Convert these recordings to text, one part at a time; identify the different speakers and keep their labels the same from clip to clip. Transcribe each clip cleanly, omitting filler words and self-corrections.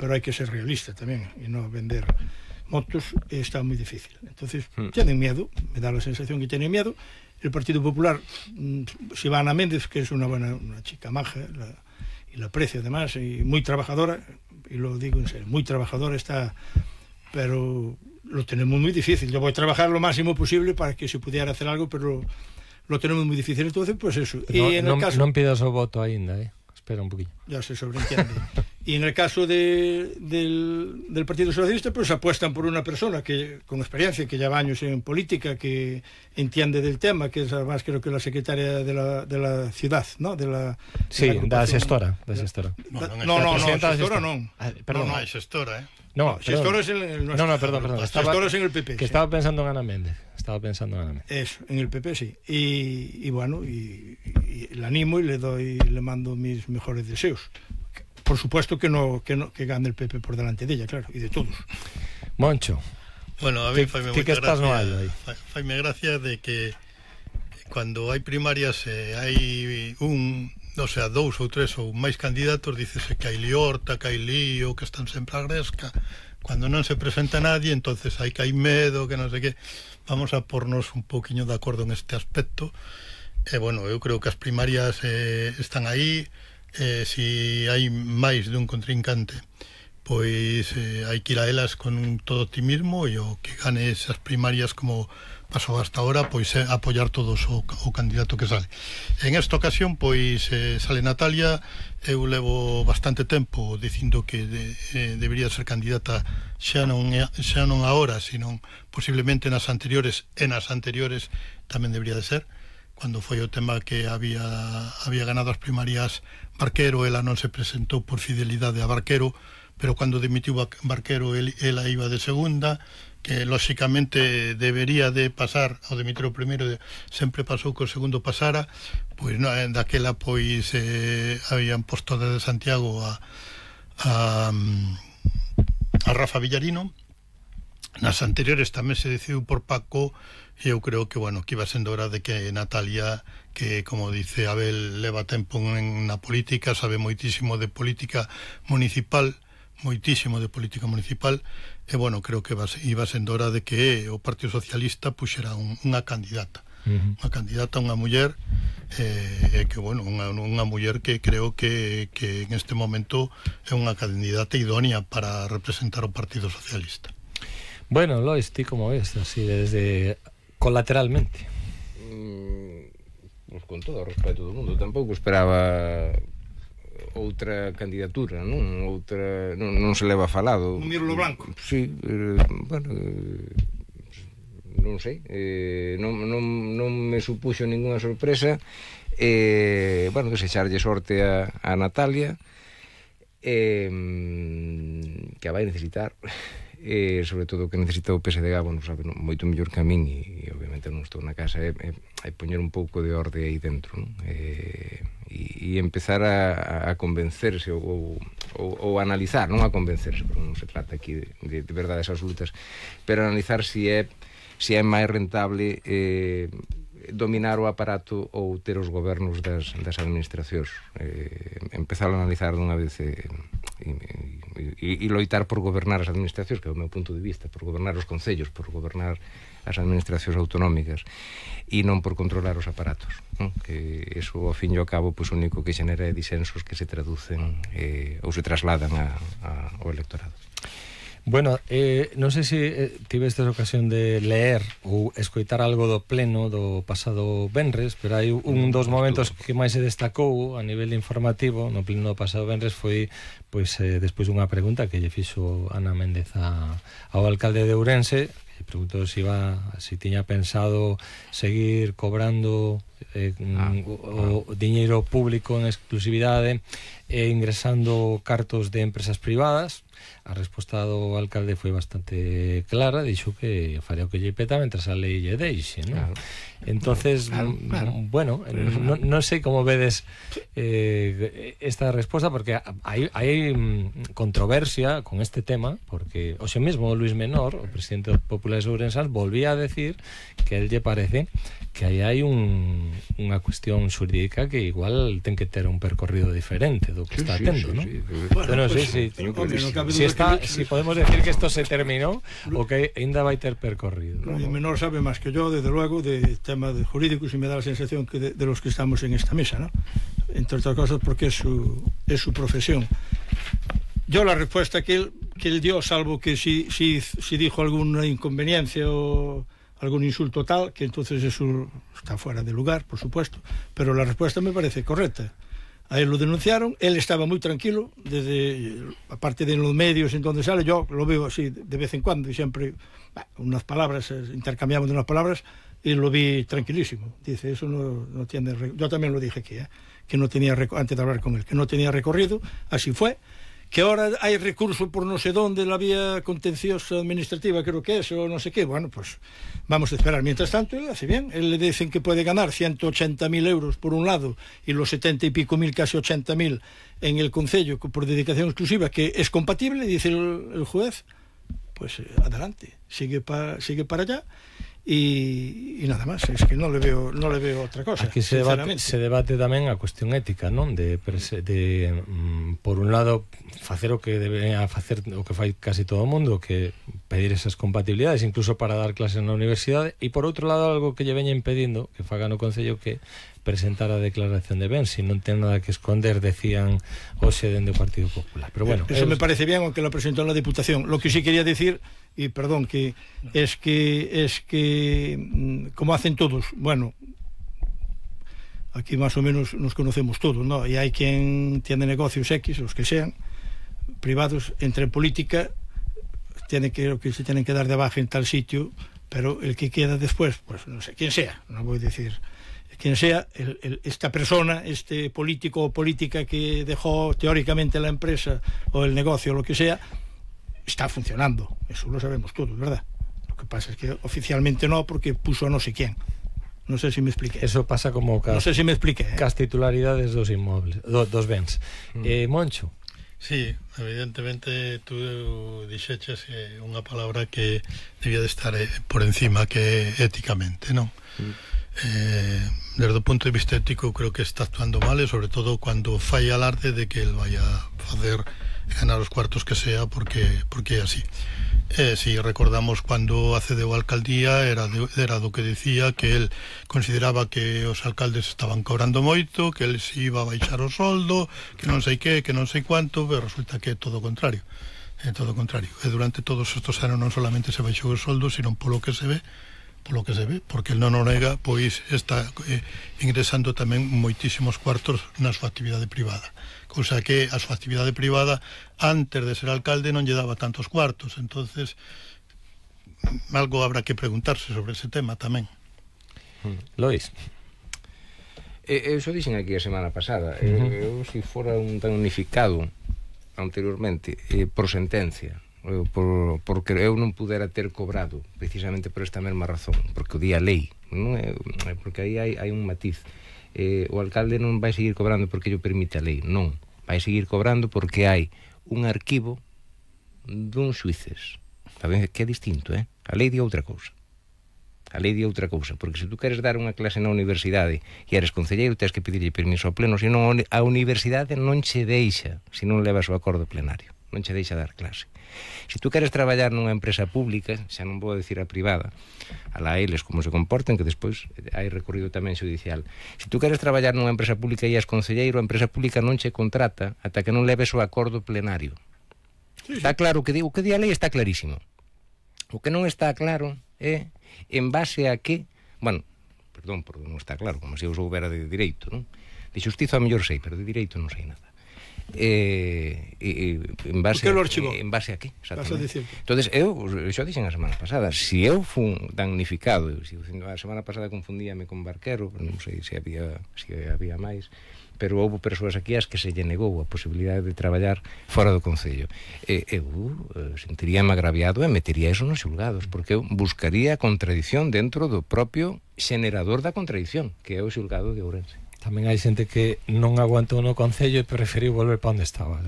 Speaker 1: pero hai que ser realista tamén e non vender motos, está moi difícil. Entonces, tienen miedo, me da la sensación que tienen miedo. El Partido Popular, Sivana Méndez, que es una chica maja, y la aprecio además, y muy trabajadora, y lo digo en serio, muy trabajadora está, pero lo tenemos muy difícil. Yo voy a trabajar lo máximo posible para que se pudiera hacer algo, pero lo tenemos muy difícil. Entonces, pues eso. Y en el caso...
Speaker 2: Non pidas o voto aínda, espera un poquillo.
Speaker 1: Ya se sobreentiende. Y en el caso del Partido Socialista, pues apuestan por una persona que con experiencia, que lleva años en política, que entiende del tema, que es además creo que la secretaria de la ciudad, ¿no?
Speaker 2: Sí, da xestora.
Speaker 1: No, xestora non.
Speaker 3: Perdón, non hai xestora,
Speaker 1: xestora es el nuestro.
Speaker 2: No, perdón.
Speaker 1: Xestora es en el PP.
Speaker 2: Que estaba pensando en Ana Méndez.
Speaker 1: Eso, en el PP, sí. Y bueno, y le animo y le mando mis mejores deseos. Por supuesto que gane el PP por delante de ella, claro, y de todos.
Speaker 2: Moncho.
Speaker 3: Bueno, a mí faime
Speaker 2: gracia
Speaker 3: de que cuando hai primarias hai dous ou tres ou máis candidatos, dícese que hai liorta, que hai lío, que están sempre a gresca. Cuando non se presenta nadie, entonces hai que hai medo, que non sei que. Vamos a pornos un poquinho de acordo en este aspecto. Bueno, eu creo que as primarias están aí. Si hai máis dun contrincante, pois hai que ir a elas con todo optimismo, e o que gane esas primarias como pasou hasta ahora, pois apoiar todos o candidato que sale. En esta ocasión, pois sale Natalia. Eu levo bastante tempo dicindo que debería ser candidata xa non agora, sino posiblemente nas anteriores, tamén debería de ser. Cuando foi o tema que había ganado as primarias Barquero, ela non se presentou por fidelidade a Barquero, pero cando dimitiu Barquero ela iba de segunda, que lóxicamente debería de pasar ao dimitir o primeiro, sempre pasou que o segundo pasara, pois daquela pois habían posto desde Santiago a Rafa Villarino. Nas anteriores tamén se decidiu por Paco, e eu creo que, bueno, que iba sendo hora de que Natalia, que, como dice Abel, leva tempo na política, sabe moitísimo de política municipal, e, bueno, creo que iba sendo hora de que o Partido Socialista puxera unha candidata. Unha muller, que, bueno, unha muller que creo que en este momento é unha candidata idónea para representar o Partido Socialista.
Speaker 2: Bueno, Lois, ti como ves, así desde colateralmente?
Speaker 4: Pues con todo o respeto do mundo, tampouco esperaba outra candidatura, non? Non se leva falado.
Speaker 1: Un Mirulo Blanco.
Speaker 4: Sí, bueno, non sei, non me supuxo ninguna sorpresa. Bueno, desecharlle sorte a Natalia, que a vai necesitar. Sobre todo que necesita o PSDG, bueno, sabe moito mellor que a min, e obviamente non estou na casa, hai poñer un pouco de orde aí dentro, non? E empezar a convencerse ou analizar, non a convencerse, porque non se trata aquí de verdades absolutas, pero analizar se é máis rentable dominar o aparato ou ter os gobernos das administracións. Empezar a analizar dunha vez e loitar por gobernar as administracións, que é o meu punto de vista, por gobernar os concellos, por gobernar as administracións autonómicas, e non por controlar os aparatos, non? Que eso, ao fin e ao cabo, pois, o único que xenera é disensos que se traducen ou se trasladan ao electorado.
Speaker 2: Bueno, non sei se tivestes ocasión de leer ou escoitar algo do pleno do pasado venres, pero hai un dos momentos que máis se destacou a nivel informativo no pleno do pasado venres foi, pois, despois dunha pregunta que lle fixo Ana Méndez ao alcalde de Ourense, que preguntou se tiña pensado seguir cobrando o diñeiro público en exclusividade e ingresando cartos de empresas privadas. A resposta do alcalde foi bastante clara, dixo que faría o que lle peta mentras a lei lle deixe, non? Claro. Entonces, claro. Bueno, non sei como vedes esta resposta, porque hai controversia con este tema, porque hoxe mesmo o Luis Menor, o presidente dos populares ourensans, volvía a decir que él lle parece que aí hai unha cuestión xurídica que igual ten que ter un percorrido diferente do que está tendo, ¿no? Bueno, si podemos decir que esto se terminó o que ainda vai ter percorrido.
Speaker 1: Luis Menor sabe máis que yo, desde luego, de tema de jurídicos, y me da la sensación que de los que estamos en esta mesa, ¿no? Entre otras cosas porque es su profesión. Yo la respuesta que él dio, salvo que si dijo alguna inconveniencia o algún insulto tal, que entonces eso está fuera de lugar, por supuesto, pero la respuesta me parece correcta. A él lo denunciaron, él estaba muy tranquilo, aparte de los medios en donde sale, yo lo veo así de vez en cuando y siempre unas palabras, intercambiamos unas palabras, y lo vi tranquilísimo. Dice, eso no tiene... Yo también lo dije aquí, que no tenía, antes de hablar con él, que no tenía recorrido, así fue, que ahora hay recurso por no sé dónde, la vía contenciosa administrativa, creo que es, o no sé qué. Bueno, pues vamos a esperar. Mientras tanto, él hace bien. Él le dicen que puede ganar 180.000 euros por un lado y los 70 y pico mil, casi 80.000 en el concello por dedicación exclusiva, que es compatible, dice el juez. Pues adelante, sigue para allá. Y nada máis, es que non le veo outra cosa.
Speaker 2: Aquí se debate tamén a cuestión ética, non? De por un lado facer o que debería facer o que fai casi todo o mundo, que pedir esas compatibilidades incluso para dar clases na universidade, e por outro lado algo que lle veña impedindo que faga no Concello, que presentar a declaración de bens, si non ten nada que esconder, decían hoxe dende o Partido Popular. Pero bueno,
Speaker 1: eso me parece bien, aunque lo presentó en la Diputación. Lo que sí quería decir, y perdón, que es que como hacen todos, bueno, aquí más o menos nos conocemos todos, ¿no? Y hay quien tiene negocios X, los que sean privados, entre política que se tienen que dar de baja en tal sitio, pero el que queda después, pues no sé quién sea, no voy a decir quien sea, esta persona, este político o política que dejó teóricamente la empresa o el negocio o lo que sea, está funcionando, eso lo sabemos todos, ¿verdad? Lo que pasa es que oficialmente no, porque puso a no sé quién. No sé si me expliqué.
Speaker 2: Eso pasa como
Speaker 1: no sé si me expliqué,
Speaker 2: cas titularidades dos inmobles, dos bens. Moncho.
Speaker 3: Sí, evidentemente tú dixeches unha palabra que debía de estar por encima, que éticamente, non? Desde o punto de vista ético creo que está actuando mal, e sobre todo cuando fai alarde de que el vaya a facer ganar os cuartos que sea, porque é así. Si recordamos cuando accedeu a alcaldía era do que decía que el consideraba que os alcaldes estaban cobrando moito, que el se iba a baixar o soldo, que non sei que non sei cuánto, pero resulta que é todo o contrario. E durante todos estos anos non solamente se baixou o soldo, sino polo que se ve, porque el non o nega, pois está ingresando tamén moitísimos cuartos na súa actividade privada, cousa que a súa actividade privada antes de ser alcalde non lle daba tantos cuartos. Entonces algo habrá que preguntarse sobre ese tema tamén.
Speaker 2: Lois,
Speaker 4: eu xo dixen aquí a semana pasada, eu se fora un tan unificado anteriormente por sentencia, porque eu non pudera ter cobrado precisamente por esta mesma razón, porque o día lei, non é, porque aí hai un matiz. O alcalde non vai seguir cobrando porque lle permite a lei, non, vai seguir cobrando porque hai un arquivo dun xuíces, que é distinto, a lei di outra cousa. A lei di outra cousa, porque se tú queres dar unha clase na universidade e eres concelleiro, tens que pedirlle permiso ao pleno, senón a universidade non che deixa, se non levas o acordo plenario, non che deixa dar clase. Se tú queres traballar nunha empresa pública, xa non vou decir a privada, alá eles como se comporten, que despois hai recorrido tamén judicial. Se tú queres traballar nunha empresa pública e és concelleiro, a empresa pública non che contrata ata que non leves o acordo plenario. Está claro que o que di a lei está clarísimo. O que non está claro é en base a que, bueno, perdón, porque non está claro, como se eu soubera de direito, non? De xustiza a mellor sei, pero de direito non sei nada. En base a que? Entonces eu xa dixen a semana pasada, se eu fun damnificado, a semana pasada confundíame con Barquero, non sei se había máis, pero houve persoas aquí as que se lle negou a posibilidade de traballar fora do Concello. Eu sentiríame agraviado e metería eso nos xulgados, porque eu buscaría a contradición dentro do propio xenerador da contradición, que é o xulgado de Ourense.
Speaker 2: tamén hai xente que non aguantou no concello e preferiu volver para onde estaba.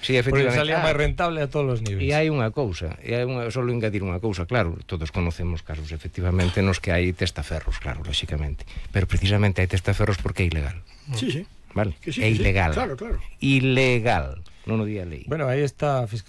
Speaker 4: Sí,
Speaker 2: Porque
Speaker 4: efectivamente.
Speaker 2: salía máis rentable a todos os niveis.
Speaker 4: E hai unha cousa, solo engadir unha cousa, claro, todos conocemos casos efectivamente nos que hai testaferros, claro, lóxicamente, pero precisamente hai testaferros porque é ilegal.
Speaker 1: Sí, sí.
Speaker 4: Vale?
Speaker 1: Que sí,
Speaker 4: É
Speaker 1: que sí.
Speaker 4: ilegal.
Speaker 1: Claro, claro.
Speaker 4: Ilegal, non o di a lei.
Speaker 2: Bueno, aí está a Fiscalía